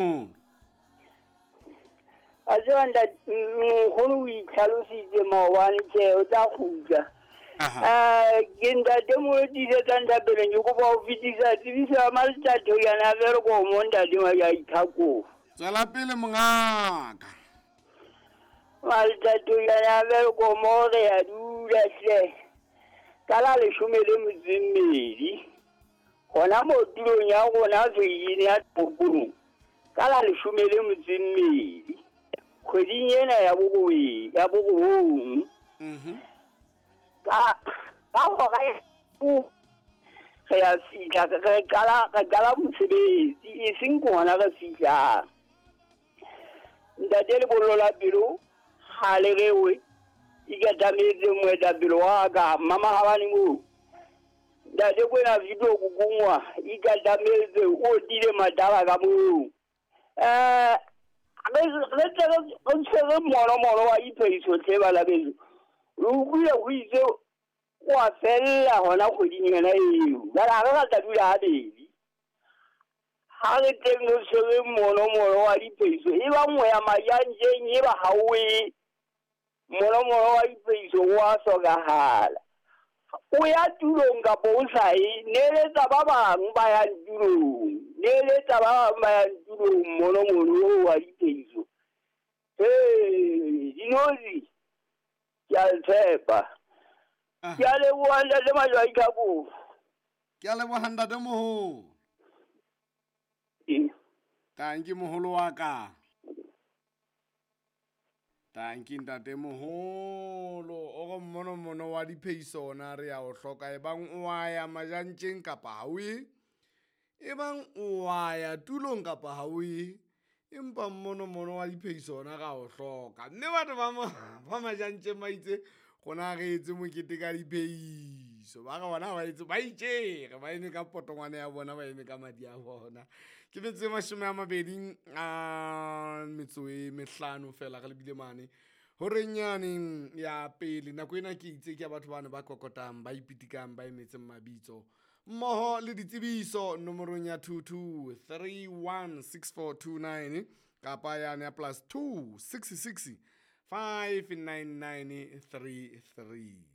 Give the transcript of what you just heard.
A tseba ntate nkgono o itlhalositse maobane tjhe o tla kgutla. Ke ntate mo tiisetsang thapeleng ke kopa ho fetisa tsebiso ya Maletato yana Welkom ntate wa Ithakong. Tswela pele mongaka. Maletato yana Welkom re ya dula hle. Ka la 12 hona mo tulong ya rona veine ya toropong ka la 12 kgweding ena ya borobong. Ka hora re a fihla re qala mosebetsi e seng ke hona re fihlang. Ntate lebollo la pelo ha le rewe ikatametse moetapele wa ka mama habane moo. Ntate kwena video kukungwa ikatametse o tile mataba ka moo. Re tshwere monomono wa iphehiso tlhe bana beso. Re utlwile ho itse wa fella hona kgweding yona eo. Jwale ha re rata dula habedi. Ha re teng re tshwere monomono wa diphehiso e ba nngwe ya majantjeng e ba ha o e monomono wa diphehiso wa hlokahala. O ya tulong kapa o sa ye, neeletsa ba bang ba yang tulong. Neeletsa ba bang ba yang tulong monomono wa diphehiso. Dinotsi ke a le tshepa. Ke a leboha ntate Majwai Tlhakong. Ke a leboha ntate moholo. Tanki moholo wa ka. Tanki ntate moholo. O re monomono wa diphehiso ona re ya o hloka. Ebang o a ya majantjeng kapa ha o ye. Ebang o a ya tulong kapa ha o ye. Empa monomono wa diphehiso ona ra o hloka. Mme batho ba majantjeng ba itse rona re etse mokete ka diphehiso. Ba re bona ba etse ba itjere ba eme ka potongwane ya bona ba eme ka madi a bona. Ke metso e 25 fela re lebile mane horeng yane ya pele. Nako ena ke itse ke ya batho bana ba kokotang ba ipitikang ba emetseng mabitso mmoho le ditsebiso nomorong ya 22316429 kapa yane ya +266 59933.